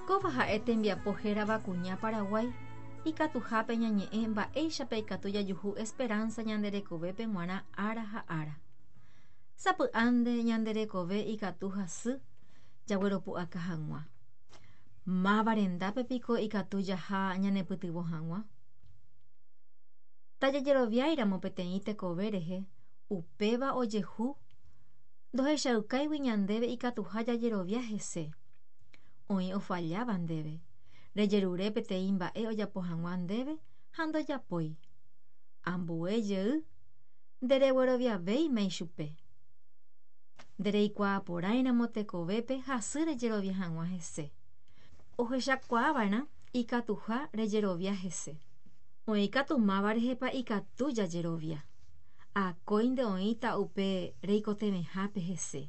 Kóva ha'e tembiapo hérava Kuña Paraguái, ikatuhápe ñañe'ẽ mba'éichapa ikatu jajuhu esperanza ñande rekovépe g̃uarã ára ha ára. Sapy'ánte ñande rekove ikatu hasy jagueropu'aka hag̃ua. Máva rendápe piko ikatu jaha ñanepytyvõ hag̃ua? Tajajeroviáiramo peteĩ tekove rehe, upéva ojehu ndohechaukáigui ñandéve ikatuha jajerovia hese. Oĩ ofalláva ndéve. Rejerure peteĩ mba'e ojapo hag̃ua ndéve ha ndojapói. Ambue jey nderegueroviavéima ichupe. Ndereikuaaporãiramo tekovépe hasy rejerovia hag̃ua hese. Ohechakuaava'erã ikatuha rejerovia hese. Oĩ katu máva rehepa ikatu jajerovia. Akóinte oĩta upe reikotevẽhápe hese.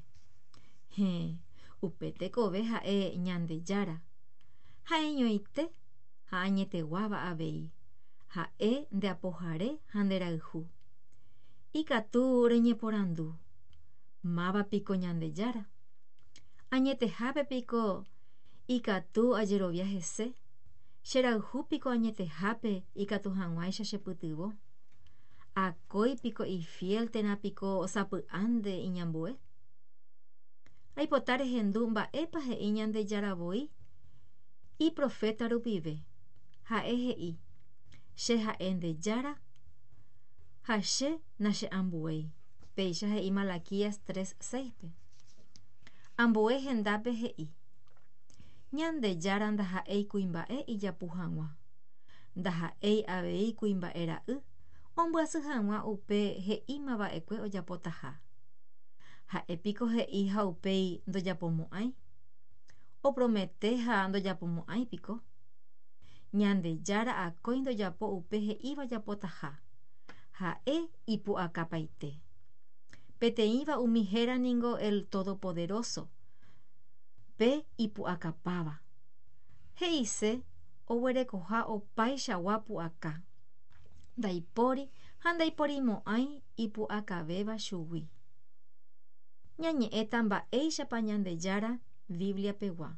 Héẽ, upe tekove ha'e Ñandejára. Ha'eñoite ha añeteguáva avei. Ha'e nde apohare ha nde rayhu. Ikatu reñeporandu, Máva piko Ñandejára? Añetehápe piko ikatu ajerovia hese? Cherayhu piko añetehápe ikatu hag̃uáicha chepytyvõ? Akói piko ifiél térã piko sapy'ánte iñambue? Aipota rehendu mba'épa he'i Ñandejára voi iproféta rupive. Ha'e he'i, Che ha'e nde Jára ha che nacheambuéi. Péicha he'i Malaquías 3, 6-pe. Ambue hendápe he'i, Ñandejára ndaha'éi kuimba'e ijapu hag̃ua. Ndaha'éi avei kuimba'e ra'y ombyasy hag̃ua upe he'imava'ekue ojapotaha. Ha'e piko he'i ha upéi ndojapomo'ãi? Opromete ha ndojapomo'ãi piko? Ñandejára akói ndojapo upe he'íva ojapotaha. Ha'e ipu'akapaite. Peteĩva umi héra ningo el Todopoderoso, pe ipu'akapáva. He'ise oguerekoha opaichagua pu'aka. Ndaipóri ha ndaiporimo'ãi ipu'akavéva chugui. Ñañe'ẽta mba'éichapa Ñandejára Biblia-pegua.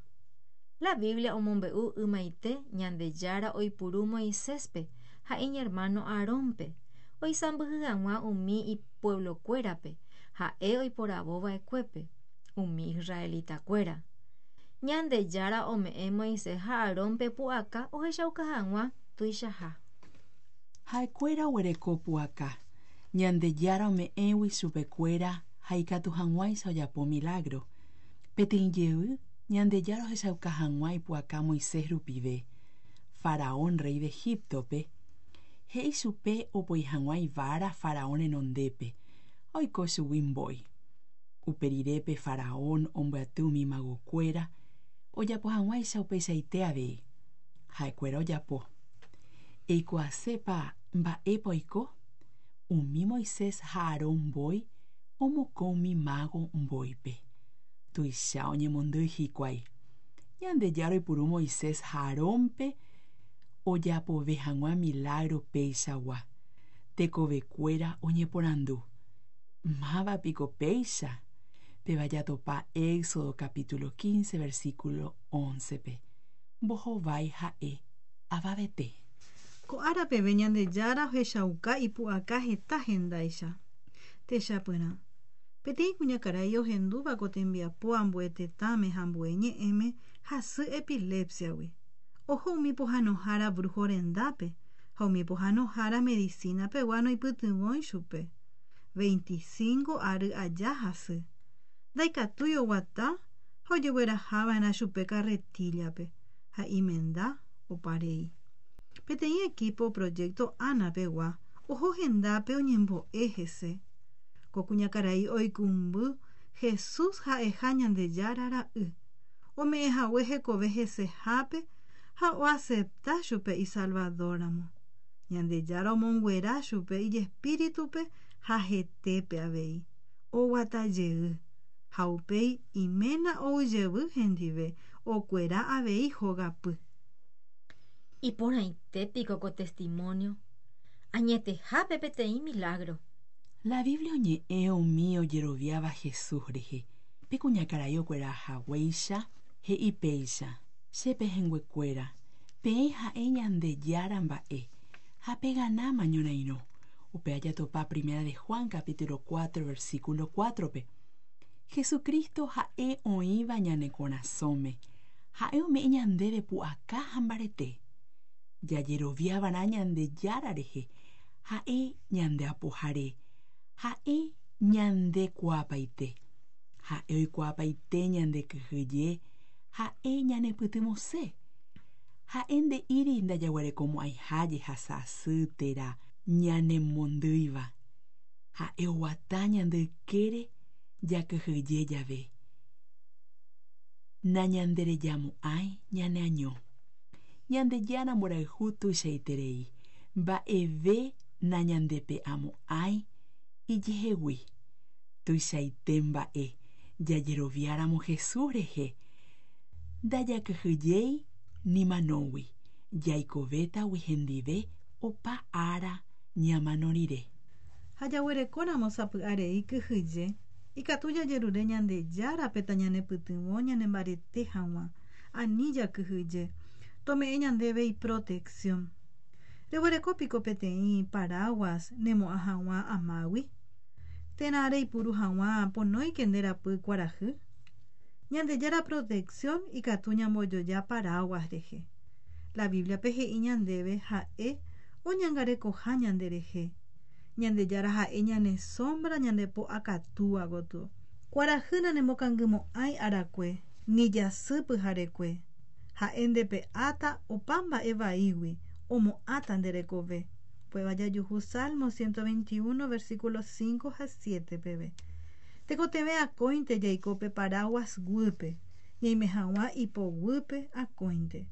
La Biblia omombe'u ymaite Ñandejára oipuru Moiséspe ha iñermáno Aarónpe oisãmbyhy hag̃ua umi ipuevlokuérape ha'e oiporavo va'ekuépe, umi israelitakuéra. Ñandejára ome'ẽ Moisés ha Aarónpe pu'aka ohechauka hag̃ua tuichaha. Ha'ekuéra oguereko pu'aka, Ñandejára ome'ẽgui chupekuéra ha ikatu hag̃uáicha ojapo milágro. Peteĩ jey, Ñandejára ohechauka hag̃ua ipu'aka Moisés rupive, Faraón rréi de Egíptope, he'i chupe opoi hag̃ua ivára Faraón renondépe, ha oiko chugui mbói. Upe rire pe faraón ombyaty umi magokuéra ojapo hag̃uáicha upeichaite avei. Ha'ekuéra ojapo. Eikuaasépa mba'épa oiko? Umi Moisés ha Aarón mbói omokõ umi mágo mbóipe. Tuicha oñemondýi hikuái. Ñandejára oipuru Moisés ha Aarónpe ojapove hag̃ua milágro peichagua. Tekovekuéra oñeporandu, Máva piko péicha? Péva jatopa Éxodo capítulo 15 versículo 11-pe. Mbohovái ha'e, Avavete. Ko ára peve Ñandejára ohechauka ipu'aka heta hendáicha. Techapyrã, peteĩ kuñakarai ohendúva ko tembiapo ambue tetãme ha ambue ñe'ẽme hasy epilepsia-gui. Oho umi pohãnohára brujo rendápe ha umi pohãnohára medicina-pegua noipytyvõi chupe. 25 ary aja hasy. Ndaikatúi oguata ha ojeguerahava'erã chupe carretilla-pe ha imenda oparei. Peteĩ equipo Proyecto Ana-pegua oho hendápe oñembo'e hese. Ko kuñakarai oikũmby Jesús ha'eha Ñandejára ra'y, ome'ẽhague hekove hesehápe ha oacepta chupe Isalvador-ramo. Ñandejára omonguera chupe ijespíritupe ha hetépe avei. Oguata jey. Ha upéi iména ou jevy hendive, okuera avei hogapy. Iporãite piko ko testimonio! Añetehápe peteĩ milagro! La Biblia oñe'ẽ umi ojeroviáva Jesús rehe. Pe kuñakarai okuera haguéicha, he'i péicha. Che pehẽnguekuéra, peẽ ha'e Ñandejára mba'e, ha peganáma ñorairõ. Upéva jatopa Primera de Juan capítulo 4 versículo 4-pe. Jesucristo ha'e oĩva ñane korasõme. Ha'e ome'ẽ ñandéve pu'aka ha mbarete. Jajeroviavarã Ñandejára rehe, ha'e ñande apohare, ha'e ñande kuaapaite. Ha'e oikuaapaite ñande kyhyje, ha'e ñanepytyvõse. Ha'e nde'íri ndajaguerekomo'ãiha jehasa asy térã ñanemondýiva. Ha'e oguata ñande ykére jakyhyje jave. Nañanderejamo'ãi ñaneaño. Ñandejára mborayhu tuichaiterei, mba'eve nañandepe'amo'ãi ijehegui. Tuichaite mba'e jajeroviáramo Jesús rehe, ndajakyhyjéi ni manógui, jaikovétagui hendive opa ára ñamano rire. Ha jaguerekóramo sapy'arei kyhyje, ikatu jajerure Ñandejárape tañanepytyvõ ñanembarete hag̃ua, ani jakyhyje, tome'ẽ ñandéve iprotección. Reguereko piko peteĩ paraguas nemo'ã hag̃ua amágui? Térã reipuru hag̃ua ponóike nde rapy kuarahy? Ñandejára protección ikatu ñambojoja paraguas rehe. La Biblia-pe he'i ñandéve ha'e oñangarekoha ñanderehe. Ñandejára ha'e ñane sombra ñandepo akatúa gotyo. Kuarahy nanemokangymo'ãi arakue, ni jasy pyharekue. Ha'e ndepe'áta opa mba'e vaígui, omo'ãta nde rekove. Upéva jajuhu Salmo 121 versículo 5 ha 7 peve. Tekotevẽ akóinte jaiko pe paraguas guýpe, ñaime hag̃ua ipoguýpe akóinte.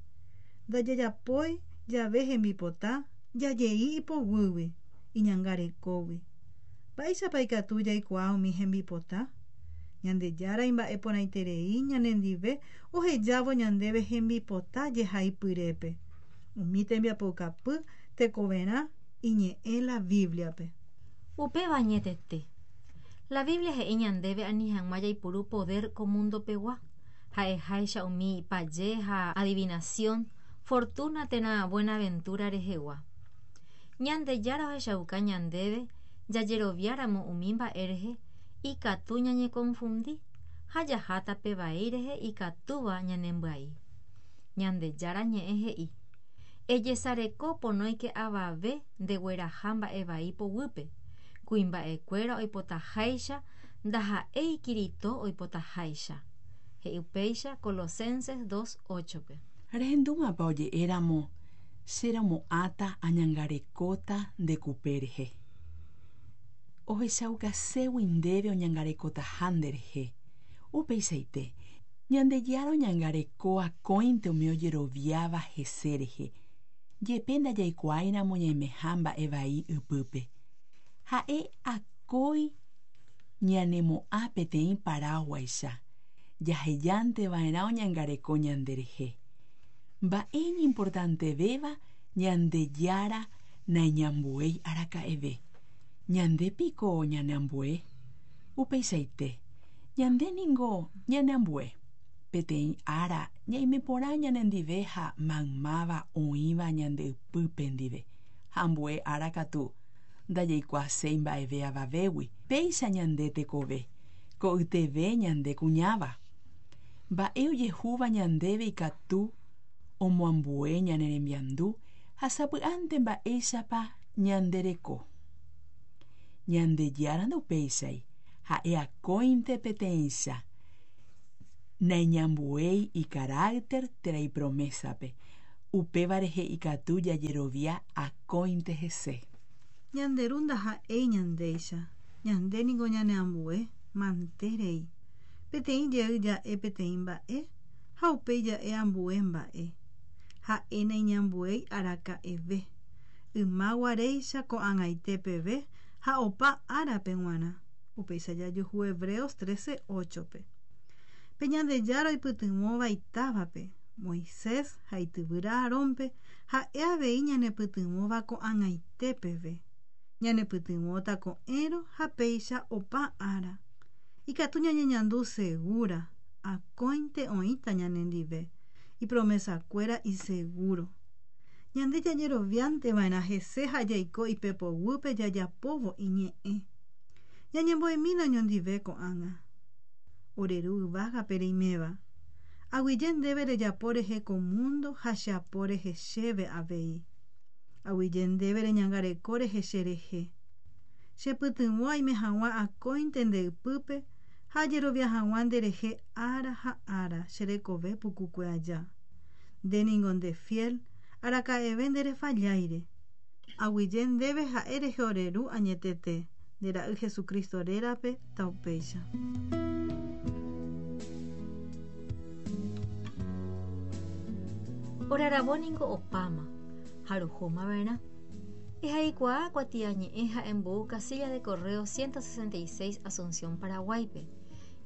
Ndajajapói jave hembipota, jajei ipoguýgui, iñangarekógui. Mba'éichapa ikatu jaikuaa umi hembipota? Ñandejára imba'eporãiterei ñanendive ohejávo ñandéve hembipota jehaipyrépe. Umi tembiapoukapy tekoverã iñe'ẽ la Biblia-pe. Upéva añetete. La Biblia he'i ñandéve ani hag̃ua jaipuru poder ko mundo pegua, ha'eháicha umi paje ha adivinación, fortuna térã buenaventura rehegua. Ñandejára ohechauka ñandéve jajeroviáramo umi mba'e rehe ikatu ñañekonfundi ha jaha tape vai rehe ikatúva ñanembyai. Ñandejára ñe'ẽ he'i Ejesareko ponóike avave ndegueraha mba'e vai poguýpe, kuimba'ekuéra oipotaháicha ndaha'éi Kirito oipotaháicha. He'i upéicha Colosenses 2.8-pe. Rehendúmapa oje'éramo che romo'ãta añangarekóta nde kupe rehe. Ohechaukaségui ndéve oñangarekotaha nderehe. Upeichaite, Ñandejára oñangareko akóinte umi ojeroviáva hese rehe, jepe ndajaikuaáiramo ñaimeha mba'e vai ypýpe. Ha'e akói ñanemo'ã peteĩ paraguáicha, jahejánteva'erã oñangareko ñanderehe. Mba'e iñimportantevéva Ñandejára naiñambuéi araka'eve. Ñandépiko ñaneambue? Upeichaite, ñande ningo ñaneambue. Peteĩ ára ñaime porã ñanendive ha maymáva oĩva ñande ypýpe ndive, ha ambue ára katu ndajaikuaaséi mba'eve avavégui, péicha ñande tekove, ko'yteve ñande kuñáva. Mba'e ojehúva ñandéve ikatu omoambue ñane rembiandu ha sapy'ánte mba'éichapa ñande reko. Ñandejára ndaupéichai, ha'e akóinte peteĩcha. Naiñambuéi icarácter térã ipromésape, upéva rehe ikatu jajerovia akóinte hese. Ñande Ru ndaha'éi ñandéicha, ñande niko ñaneambue, manterei. Peteĩ jey ja'e peteĩ mba'e ha upéi ja'e ambue mba'e. Ha'e naiñambuéi araka'eve. Yma guaréicha ko'ag̃aite peve ha opa árape g̃uarã. Upéicha jajuhu Hebreos 13.8-pe. Pe Ñandejára oipytyvõva itávape, Moisés ha ityvýra Aarónpe ha'e avei ñanepytyvõva ko'ag̃aite peve. Ñanepytyvõta ko'ẽrõ ha péicha opa ára. Ikatu ñañeñandu segura, akóinte oĩta ñanendive. Ipromesakuéra isegúro. Ñande jajeroviánteva'erã hese ha jaiko ipepoguýpe jajapóvo iñe'ẽ. Ñañembo'emína oñondive ko'ág̃a. Ore Ru yvágape reiméva. Aguyje ndéve rejapo rehe ko mundo ha che apo rehe chéve avei. Aguyje ndéve reñangareko rehe cherehe. Chepytyvõ aime hag̃ua akóinte nde ypýpe ha ajerovia hag̃ua nderehe ára ha ára che rekove pukukue aja. Nde ningo nde fiel, araka'eve nderefalláire. Aguyje ndéve ha'e rehe ore Ru añetete, nde Ra'y Jesucristo rérape, taupéicha. Ore aravo ningo opáma, ha rohóma va'erã. Ehaikuaa kuatiañe'ẽ ha embou casilla de correo 166 Asunción, Paraguáipe.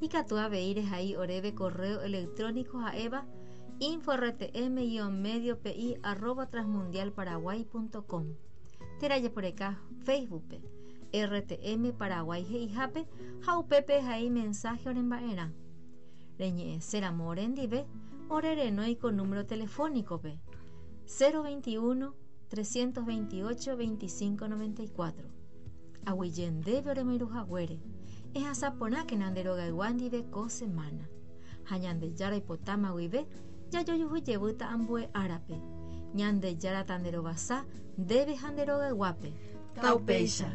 Ikatu avei rehai oréve correo electrónico ha'éva info rtm-medio pi arroba transmundialparaguay.com térã jeporeka Facebook-pe RTM Paraguay he'ihápe ha upépe ehai mensaje oremba'erã. Reñe'ẽséramo orendive, ore renói ko número telefónico-pe, 021 328 25 94. Aguyje ndéve oremoirũ haguére. Ehasa porãkena nde rogaygua ndive ko semana. Ha Ñandejára oipotáma guive, jajojuhu jevýta ambue árape. Ñandejára tanderovasa ndéve ha nde rogayguápe. Taupéicha.